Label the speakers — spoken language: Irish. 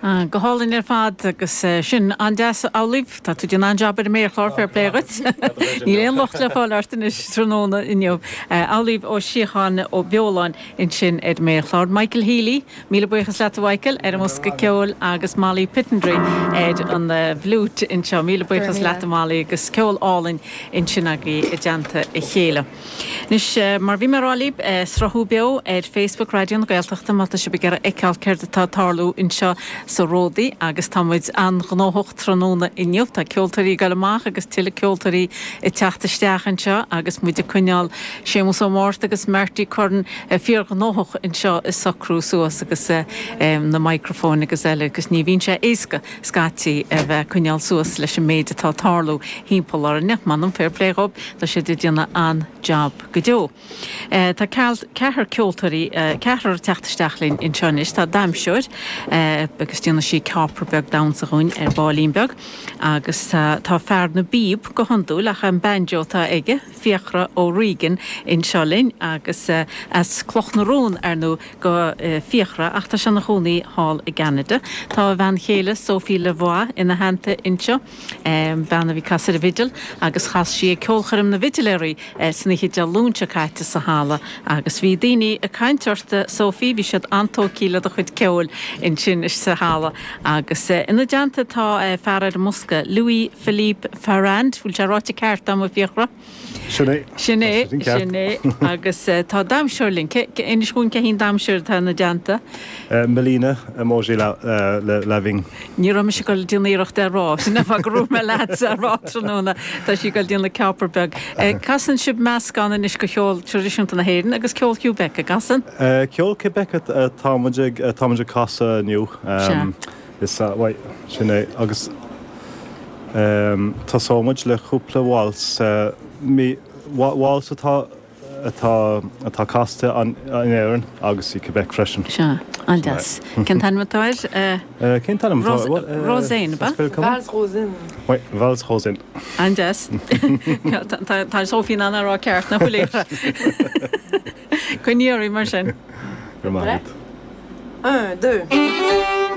Speaker 1: Go hálainn ar fad agus sin an-deas Amhlaoibh, tá tú ag déanamh an-jab ar an méarchlár, fair play dhuit. Níl aon locht le fáil ort anois tráthnóna inniu. Amhlaoibh Ó Síocháin Ó Beoláin ansin ar an méarchlár. Michael Healy, míle buíochas leat a Mhichael, ar an mbosca ceoil agus Molly Pittendreigh ar an bhfliúit anseo. Míle buíochas leat a Molly agus ceol álainn ansin agaibh i dteannta a chéile. Anois, mar bhí mé a rá libh, sruthú beo ar Facebook Raidió na Gaeltachta má tá sibh ag iarraidh fheiceáil céard atá ag tarlú anseo sa Ródaí agus tá muid an-ghnóthach tráthnóna inniu. Tá ceoltóirí ag dul amach agus tuilleadh ceoltóirí ag teacht isteach anseo agus muid ag coinneáil Séamus Ó Márta agus Marty Curran fíorghnóthach anseo ag socrú suas agus na micreafóin agus eile agus ní bhíonn sé éasca scaití a bheith ag coinneáil suas leis an méid atá ag tarlú thimpeall orainne. M'anam, fair play dhób, tá siad ag déanamh an-jab go deo. Tá ceathrar ceoltóirí, ceathrar ag teacht isteach linn anseo anois. Tá damhsóir agus déanfaidh sí ceápar beag damhsa dhúinn ar baillín beag agus tá fear na bpíob go hiondúil ach an banjo atá aige, Fiachra O'Regan anseo linn agus as Cloch na Rón, ar ndóigh, do Fiachra ach tá sé ina chónaí thall i gCeanada. Tá a bhean chéile Sophie Lavoie ina theannta anseo, bean a bhí ag casadh ar an bhfidil agus chas sí ag ceolchoirm na bhfidiléirí san oíche Dé Luain seo caite sa halla agus bhí daoine ag caint ort Sophie, bhí siad an-tógtha le do chuid ceoil ansin sa halla agus ina dteannta tá fear ar an mbosca, Louis Philippe Farrand, bhfuil sé ráite ceart agam a Fiachra?
Speaker 2: Sin é.
Speaker 1: Sin é, sin é. Agus tá damhsóir linn. Inis dhúinn cé hí an damhsóir atá ina dteannta.
Speaker 2: Melina Emoji Lavigne.
Speaker 1: Ní raibh mise ag dul ag déanamh iarracht é a rá. Sin an fáth go raibh mé leatsa a rá tráthnóna. Tá sí ag dul ag déanamh ceápar beag. Casann sibh meascán anois de cheol traidisiúnta na hÉireann agus ceol Quebec, an gcasann?
Speaker 2: Ceol Quebec atá muid ag casadh inniu.
Speaker 1: Sea.
Speaker 2: Is ea, bhuel, sin é. Agus tosóidh muid le cúpla waltz, waltz atá, atá, atá casta in Éirinn agus i Quebec freisin.
Speaker 1: Sea, an-deas. Cén t-ainm atá
Speaker 2: air? Cén t-ainm atá
Speaker 1: air? Rosaine, ab
Speaker 2: ea? Valse Rosaine. Oui, Valse Rosaine.
Speaker 1: An-deas. Tá Sophie in ann a rá ceart, nach bhfuil? Coinnigh oraibh mar sin.
Speaker 2: Go raibh maith agat.
Speaker 3: Un, deux.